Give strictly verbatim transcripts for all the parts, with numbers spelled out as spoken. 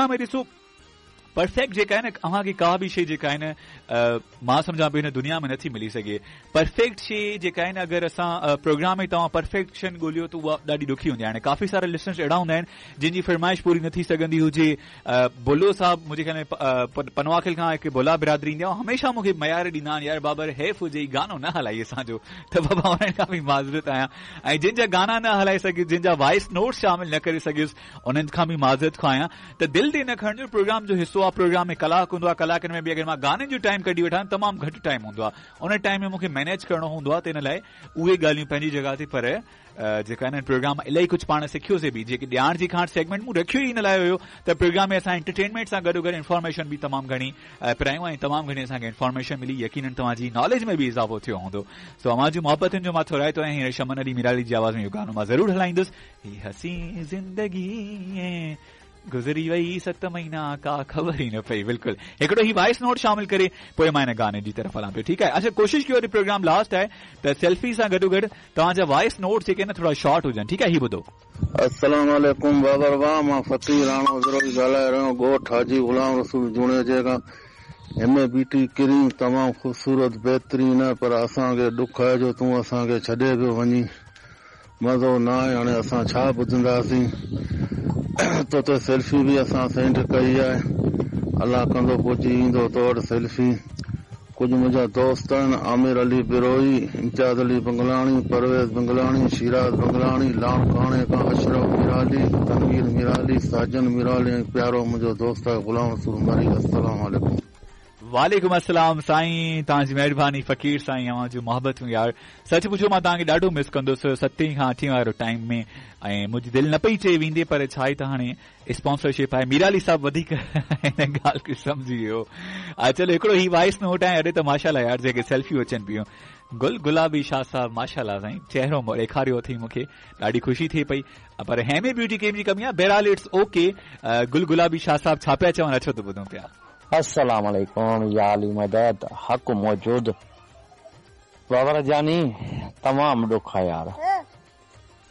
۾ ॾिसो परफेक्ट जेका आहे न अव्हांखे का बि शइ जेका आहे न मां सम्झां पियो हिन दुनिया में नथी मिली सघे। परफेक्ट शइ जेका आहे न अगरि असां प्रोग्राम में तव्हां परफेक्शन ॻोल्हियो त उहा ॾाढी ॾुखी हूंदी आहे। हाणे काफ़ी सारा लिसनर्स अहिड़ा हूंदा आहिनि जिन जी फरमाइश पूरी न थी सघंदी हुजे। बोलो साहिबु मुंहिंजे ख़्याल में पनवाखिल खां हिकु बोला बिरादरी ईंदी आहे, हमेशा मूंखे मयार ॾींदा आहिनि यार बाबर हैफ हुजे गानो न हलाई असांजो, त बाबा उन्हनि खां बि माज़रत आहियां। ऐं जिन जा गाना न हलाई सघियुसि, जिन जा वॉइस नोट शामिल न करे सघियुसि, उन्हनि खां बि माज़रत खां आहियां। त दिलि ते न खणिजो, प्रोग्राम जो हिसो आहे, प्रोग्राम में कलाक हूंदो आहे, कलाकनि में बि अगरि मां गाननि जो टाइम कढी वठां तमामु घटि टाइम हूंदो आहे, उन टाइम में मूंखे मैनेज करिणो हूंदो आहे, त इन लाइ उहे ॻाल्हियूं पंहिंजी जॻह ते। पर जेका आहे न प्रोग्राम इलाही कुझु पाण सिखियोसीं बि, जेके ॼाण जी खांट सेगमेंट मूं रखियो ई इन लाइ हुयो त प्रोग्राम में असां एंटरटेनमेंट सां गॾोगॾु इन्फॉर्मेशन बि तमामु घणी परायूं ऐं तमामु घणी असांखे इन्फॉर्मेशन मिली, यकीनन तव्हांजी नॉलेज में बि इज़ाफ़ो थियो हूंदो। सो अव्हां जी मोहबतुनि जो मां थोराइतो आहियां। हींअर शमन अली मिराली जी आवाज़ में इहो गानो मां ज़रूरु हलाईंदुसि। ही हसीन ज़िंदगी गुज़री वई सत महीना का ख़बर ई न पई। बिल्कुलु हिकिड़ो ही वॉइस नोट शामिल करे पोइ मां हिन गाने जी तरफ़ हलां पियो, ठीकु आहे। अच्छा कोशिश कयो प्रोग्राम लास्ट आहे त सेल्फी सां गॾोगॾु तव्हांजा वॉइस नोट जेके आहिनि थोरा शॉर्ट हुजनि, ठीकु आहे। ही ॿुधो। अस्सलाम वालेकुम बाबर वाह, मां फ़क़ीर राणो विरोही ॻाल्हाए रहियो, ॻोठ हाजी ग़ुलाम रसूल जुणेजे खां। एम ए ब्यूटी क्रीम तमामु ख़ूबसूरत बहितरीन आहे, पर असांखे ॾुख आहे जो तूं असांखे छॾे पियो वञी, मज़ो न आहे। हाणे असां छा ॿुधंदासीं? तो ते सेल्फी बि असां सेंड कई आहे, अलाह कंदो पहुची ईंदो तो वटि सेल्फी। कुझु मुंहिंजा दोस्त आहिनि, आमिर अली बिरोही, इम्तियाज़ अली बंगलाणी, परवेज़ बंगलाणी, शिराज़ बंगलाणी, लाड़काणे खां अशरफ मिराली, तनवीर मिराली, साजन मिराली ऐं प्यारो मुंहिंजो दोस्त आहे ग़ुलाम रसूल मरी। अस्सलाम वालेकुम। वालेकुम अस्सलाम साईं, तव्हांजी महिरबानी फ़क़ीर साईं, अव्हां जूं मोहबतूं यार। सच पुछो मां तव्हांखे ॾाढो मिस कंदुसि सतें खां अठें वारो टाइम में, ऐं मुंहिंजी दिलि न पई चए वेंदी, पर छा आहे त हाणे स्पॉन्सरशिप आहे। मीराली साहिबु वधीक हिन ॻाल्हि खे सम्झी वियो। चलो हिकिड़ो ही वॉइस नोट आहे। अरे त माशाल्लाह यार जेके सेल्फियूं अचनि पियूं, गुल गुलाबी शाह साहिबु माशाल्लाह साईं चहिरो ॾेखारियो अथई मूंखे, ॾाढी ख़ुशी थिए पई। पर हेमे ब्यूटी क्रीम जी कमी आहे, बहरहाल it's okay. गुल गुलाबी शाह साहिबु छा पिया चवनि, अचो त ॿुधूं पिया। अस्सलाम वालेकुम या अली मदद, हक मौजूद। बाबर जानी तमाम ॾुख आहे यार,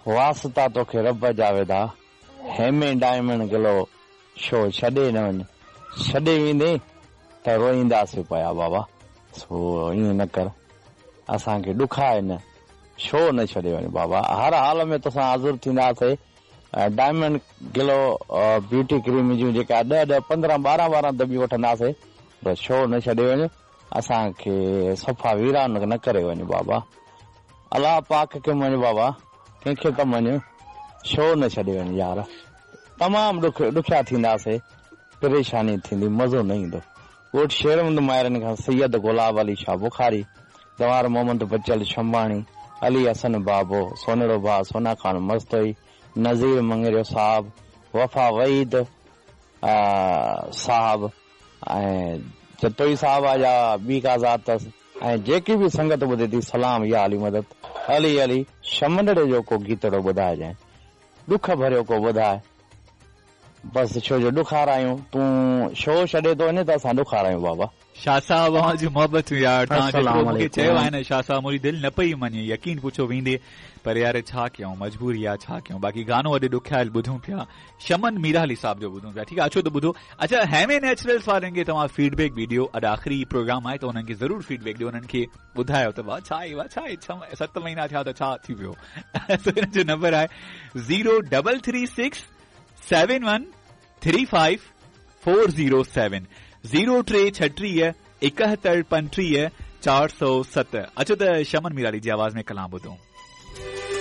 वास्ता तोखे रब जा वेदा, हेमे डायमंड ग्लो शो छॾे न वञ, छॾे वेंदे त रोईंदासीं पिया बाबा। सो ईअं न कर, असांखे ॾुख आहे न, शो न छॾे वञ बाबा। हर हाल में तोसां हाज़िर थींदासीं। डायमंड ग्लो ब्यूटी क्रीम जूं जेका ॾह ॾह पंद्रहं ॿारहं ॿारहं दॿियूं वठंदासीं, पर शो न छॾे वञ, असांखे सफ़ा वीरान न करे वञ बाबा। अलाह पाक खे मञ बाबा, कंहिंखे त मञ, शो न छॾे वञ यार। तमामु ॾुख ॾुखिया थींदासीं, परेशानी थींदी, मज़ो न ईंदो। ॻोठ शेरमंद मायरनि खां सैयद गुलाब अली शाह बुखारी, दवार मोहम्मद बचल शंबाणी, अली हसन बाबो, सोनड़ो भाउ सोना खान मस्तोई, नज़ीर मंगरियो साहब, वफ़ा वहीद साहब ऐं जतोई साहब आहे या ॿी का ज़ात अथसि, ऐं जेकी बि संगत ॿुधे थी सलाम या अली मदद। अली अली शमंदड़े जो को गीतड़ो ॿुधाइजांइ, ॾुख भरियो को ॿुधाए बसि, छो जो ॾुखारायूं, तूं शो छॾे थो वञे त असां ॾुखारायूं बाबा। शाह साहब अव्हां जूं मोहबतूं यार, तव्हां जेतिरो मूंखे चयो आहे न शाह साहब, मुंहिंजी दिलि न पई मञे, यकीन पुछो वेंदे, पर यार छा कयूं, मजबूरी आहे, छा कयूं। बाक़ी गानो अॼु ॾुखियाल ॿुधूं पिया, शमन मीराली साहिब जो ॿुधूं पिया, ठीकु आहे। अचो त ॿुधो। अच्छा हेमे नेचुरल्स वारनि खे तव्हां फीडबैक बि ॾियो, अॼु आख़िरी प्रोग्राम आहे त उन्हनि खे ज़रूरु फीडबैक ॾियो, उन्हनि खे ॿुधायो त वाह छा आहे, वाह छा आहे, छह सत महीना थिया त छा थी वियो। हिन जो नंबर आहे zero double three six seven one three five four zero seven, zero टे छटीह एकहतरि पंटीह चारि सौ सत। अचो त शमन मीराली जी आवाज़ में कलाम ॿुधूं।